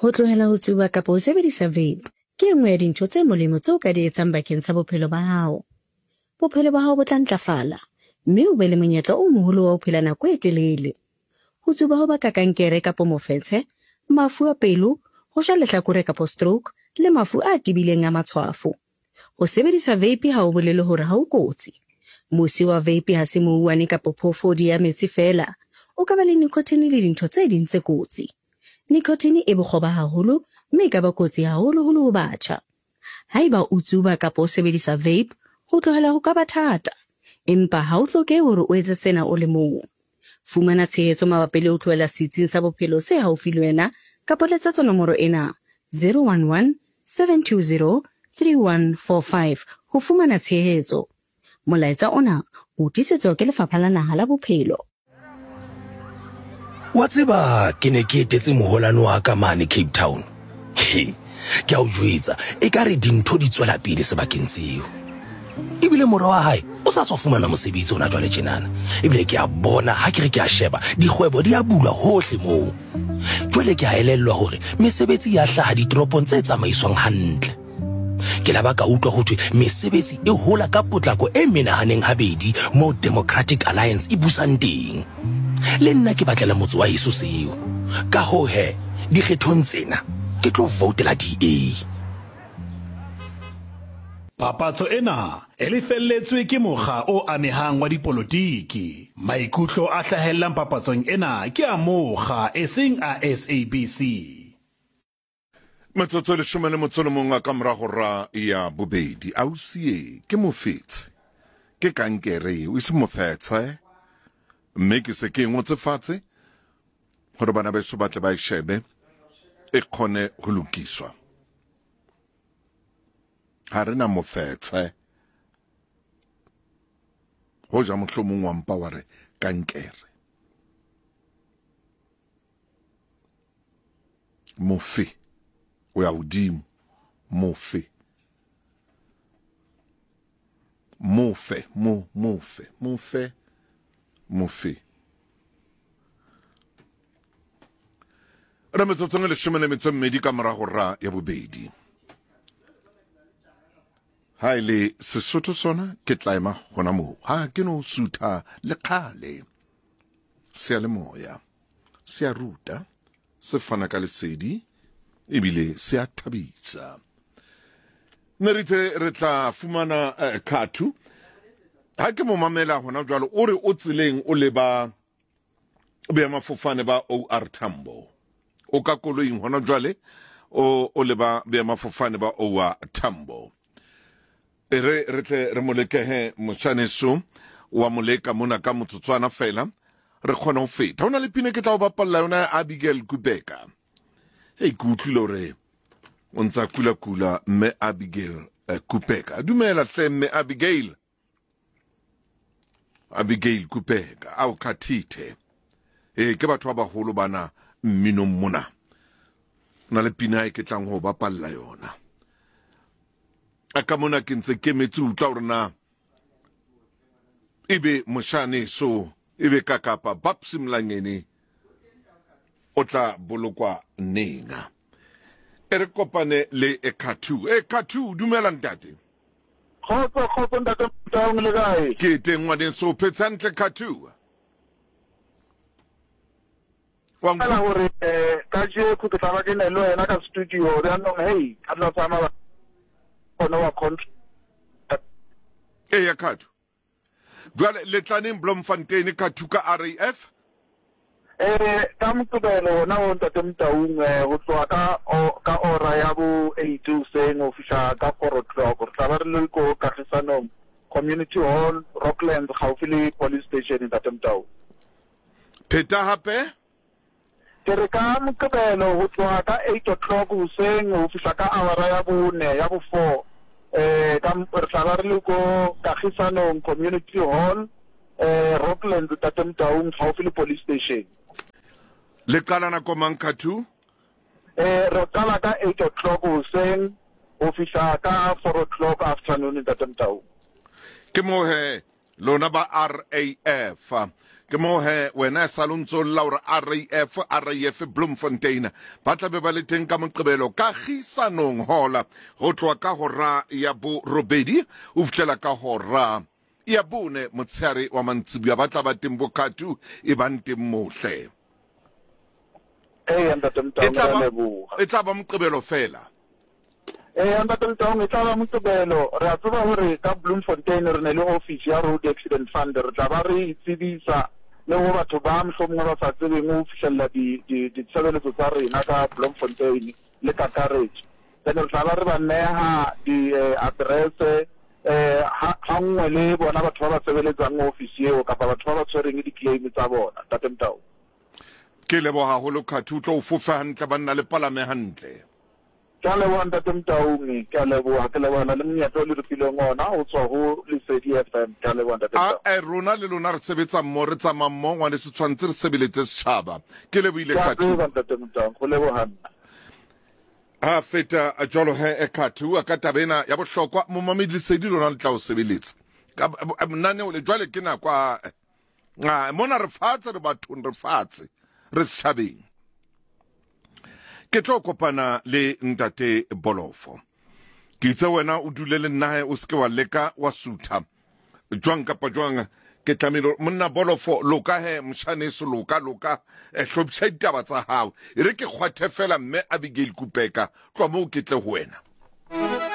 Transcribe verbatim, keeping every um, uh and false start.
Ho tlohela ho tsuba kapa ho sebedisa vape ke e nngwe ya dintho tse molemo tseo o ka di etsang bakeng sa bophelo ba hao. Bophelo ba hao bo tla ntlafala mme o be le monyetla o moholo wa ho phela nako e telele. Ho tsuba ho baka kankere kapa mofetshe, mafu a pelo, ho shwa lehlakore kapa stroke le mafu a tebileng a matshwafo. Ho sebedisa vape ha ho bolele hore ha o kotsi. Mosi wa vape ha se mouwane kapa phoofodi ya metsi feela, o ka ba le nicotine le dintho tse ding tse kotsi. Nicotine e bokgoba haholo mme e ka ba kotsi haholoholo ho batjha. Haeba o tsuba kapa o sebedisa vape, ho tlohela ho ka ba thata. Empa ha o hlokehe hore o etse sena o le mong. Fumana tshehetso mabapi le ho tlohela setsing sa bophelo se haufi le wena kapa letsetsa nomoro ena zero one one, seven two zero, three one four five ho fumana tshehetso. Molaetsa ona o tiisetswa ke Lefapha la Naha la Bophelo. Wa tseba ke ne ke etetse moholwane wa ka mane Cape Town. He, ke a o jwetsa, ekare dintho di tswela pele sebakeng seo. Ebile mora wa hae o sa tswa fumana mosebetsi hona jwale tjenana. Ebile ke a bona ha ke re ke a sheba, dikgwebo di a bulwa hohle moo. Jwale ke a elellwa hore mesebetsi ya hlaha ditoropong tse tsamaiswang hantle. Ke la ba ka utlwa ho thwe mesebetsi e hola ka potlako e menahaneng habedi moo Democratic Alliance e busang teng. Le nna ke batlela motse wa heso seo. Ka hoo he, dikgethong tsena ke tlo voutela D A. Papatso ena e lefelletswe ke mokga o amehang wa dipolotiki. Maikutlo a hlahellang papatsong ena ke a mokga eseng a S A B C. Metsotso e leshome le motso le mong ka mora hora ya bobedi. Ausi e ke mofetshe, ke kankere eo, e se mofetshe, mme ke se ke ngotse fatshe hore bana beso ba tle ba e shebe e kgone ho lokiswa. Ha re na mofetshe, hoja mohlomong wa mpa wa re kankere. Mofe o ya hodimo, mofe, mofe, mo, mofe, mofe, mofe. Re metsotsong e leshome le metso e mmedi ka mora hora ya bobedi. Ha e le Sesotho sona ke tla ema hona moo. Ha ke no sutha le kgale. Seyalemoya se a ruta, se fana ka lesedi ebile se a thabisa. Ne re itse re tla fumana eh, Khathu. Ha ke mo mamela hona jwalo, o re o tseleng o leba boemafofane ba O R Tambo. O ka koloing hona jwale o o leba boemafofane ba O R Tambo. E re re tle re mo lekehe moshaneso wa moleka mona ka motsotswana fela re kgone ho feta. Ho na le pina ke tla o bapalla yona ya Abigail Kubeka. Hei, ke utlwile hore o ntsa kula kula mme Abigail eh, Kubeka. Dumela hle mme Abigail. Abigail Kubeka ao khathithe. Eh ke batho ba baholo bana mminong mona. Na le pina e ke tlang ho bapalla yona. A ka mona ke ntse ke metse utlwa hore na ebe moshane so ebe ka kapa Babs Mlangeni o tla bolokwa neng. E re kopane le Ekhathu. Ekhathu, dumela ntate. Kgotso, kgotso ntate Motaung, le kae? Ke teng ngwaneso, o phetse hantle Khathu? Wa Fela hore, eh, kajeko ke tla ba ke na le wena ka studio, jaanong, hey, ka tla tsamaya gona wa contract. Eya Khathu. Jwale le tla neng Bloemfontein Khathu ka R A F? Eh, ka Moqebelo ona o ntate Motaung, eh, ho tloha ka o-, ka ora ya bo eight hoseng ho fihla ka four o'clock. Re tla ba re le ko Kagisanong Community Hall, Rocklands, gaufi le police station ntate Motaung. Pheta hape? Ke re ka Moqebelo ho tloha ka eight o'clock hoseng ho fihla ka hour ya bone, ya bo four. Eh, ka m-, re tla ba re le ko Kagisanong Community Hall, eh, Rocklands ntate Motaung, gaufi le police station. Le qala nako mang Khathu? Eh, re qala ka eight o'clock hoseng ho fihla ka four o'clock afternoon ntate Motaung. Ke mo he lona ba R A F. Ke moo he wena e sa le o ntso lla hore R A F, R A F Bloemfontein ba tla be ba le teng ka Moqebelo Kagisanong Hall ho tloha ka hora ya borobedi ho fihlela ka hora ya bone motshehare wa mantsibuya. Ba tla ba teng bokatu e bang teng mohle. Eya ntate Motaung, E tla re a ba leboha. e tla ba Moqebelo fela. Eya ntate Motaung, e tla ba Moqebelo. Re a tseba hore ka Bloemfontein re ne le office ya Road Accident Fund. Re tla ba re itsebisa le ho batho ba mohlomongwe ba sa tsebeng ho fihlella di, di, ditshebeletso tsa rena ka Bloemfontein le kakaretso. Then re tla ba re ba neha di, eh, address, eh, ha, ha nngwe le bona batho ba ba sebeletsang office eo kapa batho ba ba tshwereng di-claim tsa bona, ntate Motaung. Ke leboha haholo Khathu, o tlo o fofe hantle banna le palame hantle. Ke a leboha ntate Motaung, ke a leboha, ke leboha le monyetla o le re fileng ona ho tswa ho Lesedi F M. Ke a leboha ntate A, Motaung. eh, rona le lona re sebetsa mmoho, re tsamaya mmoho, ngwaneso, tshwanetse re sebeletse setjhaba. Ke lebohile Ke a Khathu. tseba ntate Motaung, go leboha nna. Ha feta jwalo he, eh, Khathu, ka taba ena ya bohlokwa, momamedi Lesedi lona le tla o sebeletsa. Ka, eh, lenaneo le jwale ke nako a, ah, mona re fatshe, re bathong, re fatshe, re setjhabeng. Ke tlo kopana le ntate Bolofo. Ke itse wena o dule le nna he, o seke wa leka wa sutha. Jwang kapa jwang, ke tlamehile hore monna Bolofo, loka he, moshaneso, loka, loka, eh, hlophisa ditaba tsa hao. E re ke kgwathe fela mme Abigail Kupeka, tloha moo ke tle ho wena.